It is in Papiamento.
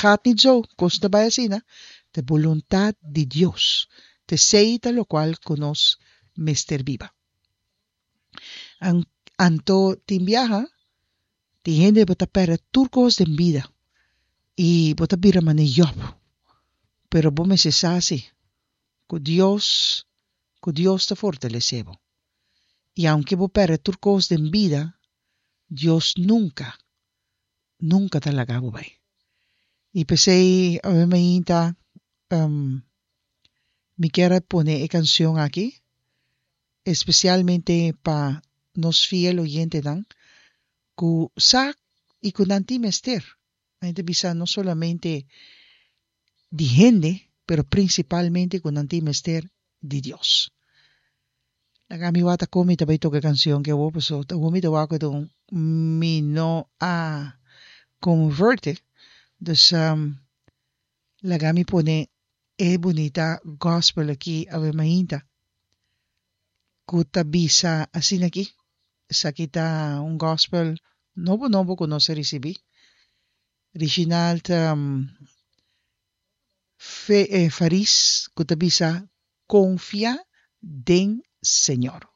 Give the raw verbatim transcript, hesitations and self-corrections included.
gaat niet zo, kos ta bai asina, ta boluntat di Dios. Ta esei ta lokual ku nos mester biba. Anto tin biaha, tin hende bo ta pèrdè tur kos den bida i bo ta bira manera Job. Pero bo mester sa si ku Dios, ku Dios ta fortalesé bo. I aunke bo pèrdè tur kos den bida, Dios nunka, nunka ta laga bo bai. I p'esei awe mainta mi kier a pone e kanshon aki, espesialmente pa nos fiel oyentenan ku sa i ku nan tin mester. Nan ta bisa no solamente di hende, pero prinsipalmente ku nan tin mester di Dios. Laga mi wak ta kon mi ta bai toka e kanshon ke awor pasobra ta awor mi ta wak ku mi no a convert e. Dus laga mi pone e bunita gospel aki awe mainta ku ta bisa asina aki. Esaki ta un gospel nobo nobo ku nos a risibí. Reginald Faris ku ta bisa Konfia den Señor.